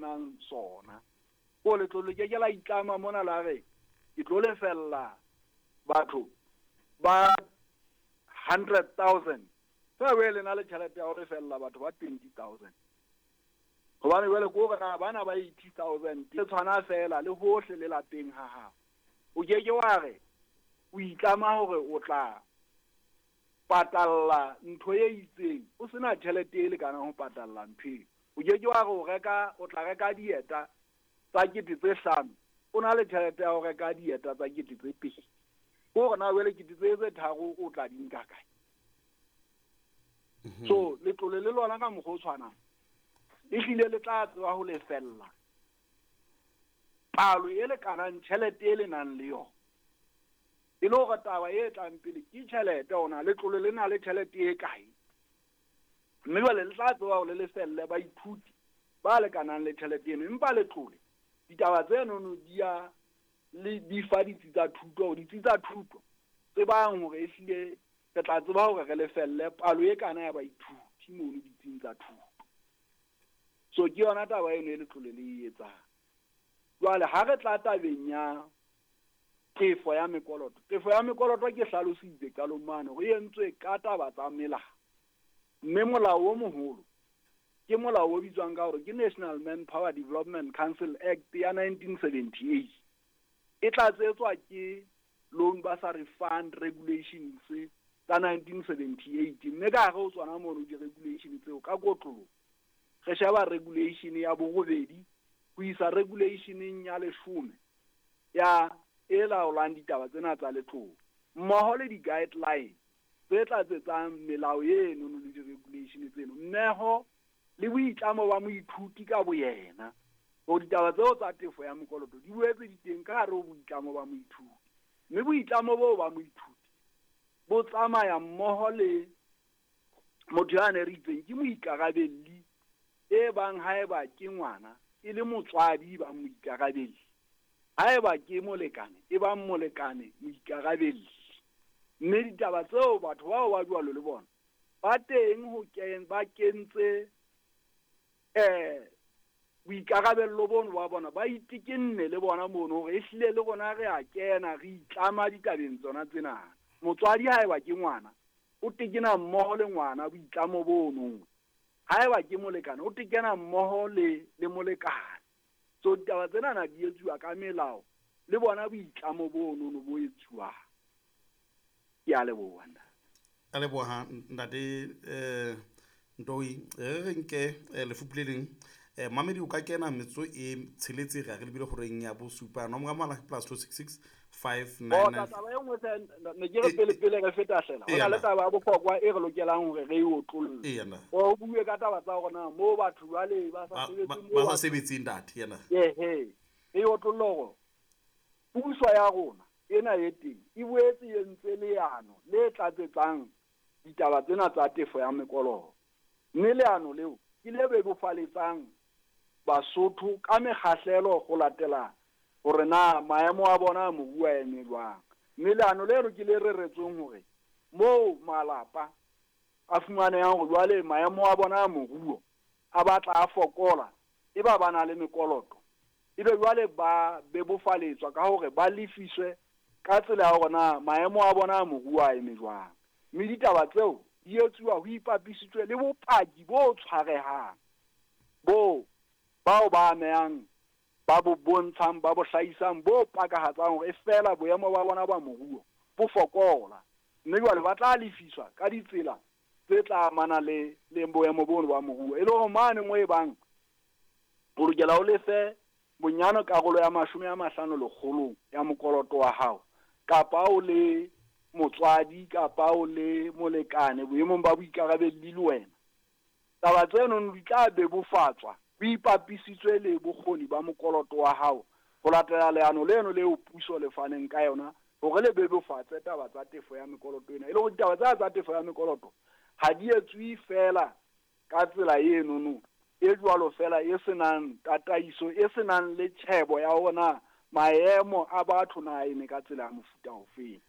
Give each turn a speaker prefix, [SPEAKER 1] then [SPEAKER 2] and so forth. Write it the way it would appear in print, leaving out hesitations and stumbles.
[SPEAKER 1] nang sona. Ko letlole le ke ke la itlama mona la re ke tlo lefella batho ba 100,000 fa we le na le tjhelete ya ho lefella batho ba 20,000. Hobane jwale ko re na bana ba 80,000 e tshwana fela le hohle le lapeng ha hao. O ke ke wa re o itlama hore o tla patalla ntho e itseng o sena tjhelete e lekanang ho patalla ntho eo. O ke ke wa re o reka, o tla reka dieta tsa 5,000, o na le tjhelete ya ho reka dieta tsa 2,000. Ko re na jwale 3,000 o tla di nka kae? So letlole le lona ka mokgwa o tshwanang e hlile le tla tseba ho lefella palo e lekanang tjhelete e le nang le yona. E le hore taba e tlang pele ke tjhelete, ona letlole le na le tjhelete e kae, mme jwale le tla tseba hore le lefelle baithuti ba lekanang le tjhelete eno. Empa letlole ditaba tseno di ya le di fa ditsi tsa thuto, ditsi tsa thuto tsebang hore e hlile re tla tseba hore re lefelle palo e kana ya baithuti mono ditsing tsa thuto. So ke yona taba eno e letlole le e etsang. Jwale ha re tla tabeng ya tefo ya mekoloto, tefo ya mekoloto ke hlalositse qalong mane hore e entswe ka taba tsa melao, mme molao o moholo ke molao o bitswang ka hore ke National Manpower Development Council Act ya 1978. E tlatsetswa ke Loan Bursary Fund Regulations tsa 1978, mme ka hare ho tsona mono di-regulation tseo ka kotloloho re sheba regulation ya 8 ho isa regulationeng ya 10 ya e laolang ditaba tsena tsa letlole, mmoho le di-guideline tse tlatsetsang melao eno le di-regulation tseno, mmeho le boitlamo ba moithuti ka boyena hore ditaba tseo tsa tefo ya mokoloto di boetse di teng ka hare ho boitlamo ba moithuti. Mme boitlamo boo ba moithuti bo tsamaya mmoho le motho ya ne re itseng ke moikarabelli, e bang haeba ke ngwana e le motswadi ba moikarabelli, haeba ke molekane e bang molekane moikarabelli. Mme ditaba tseo batho bao ba jwalo le bona ba teng ho ba kentse boikarabello bono ba bona, ba itekenne le bona mono hore ehlile le rona re a kena re itlama ditabeng tsona tsena. Motswadi haeba ke ngwana o tekena mmoho le ngwana boitlamo bono, haeba ke molekane o tekena mmoho le molekane. So ditaba tsena na di etsuwa ka melao le bona boitlamo bono bo etsuwang. Ke a leboha.
[SPEAKER 2] A leboha ntate Ntoi. Re nke lefupu le leng. Mamedi o ka kena metso e 6 re re lebile horeng ya 7. Nomoro ya mohala +266 599.
[SPEAKER 1] Taba e nngwe ne ke re pele pele re feta hlela. Ho na le taba ya bohlokwa e re lokelang hore re e otlolle. O bue ka taba tsa rona moo batho jwale ba sa sebetseng,
[SPEAKER 2] ba sa sebetseng ntate yena.
[SPEAKER 1] Ehe, re otlolle hore puso ya rona ena e teng e boetse e entse leano le tlatsetsang ditaba tsena tsa tefo ya mekoloto. Mme leano leo ke le bebofaletsang Basotho ka mekgahlelo ho latela hore na maemo a bona a moruo a eme jwang. Mme leano leno ke le reretsweng hore moo malapa a fumanehang hore jwale maemo a bona a moruo a batla a fokola, e ba ba na le mekoloto, ebe jwale ba bebofaletswa ka hore ba lefiswe ka tsela ya hore na maemo a bona a moruo a eme jwang. Mme ditaba tseo di etsuwa ho ipapisitswe le bopaki bo tshwarehang bo bao ba amehang ba bo bontshang, ba bo hlahisang, bo pakahatsang hore e fela boemo ba bona ba moruo bo fokola. Mme jwale ba tla lefiswa ka ditsela tse tla amana le boemo bono ba moruo. E le hore mane mo e bang o lokela o lefe bonyane karolo ya 50 ya mokoloto wa hao, kapa o le motswadi kapa o le molekane boemong ba boikarabelli le wena. Taba tseno di tla bebofatswa ho ipapisitswe le bokgoni ba mokoloto wa hao ho latela leano leno leo puso le faneng ka yona hore le bebofatse taba tsa tefo ya mekoloto ena. E le hore ditaba tsa tefo ya mekoloto ha di etswe fela ka tsela enono e jwalo fela e senang tataiso, e senang le tjhebo ya hore na maemo a batho na eme ka tsela ya mofuta ofeng.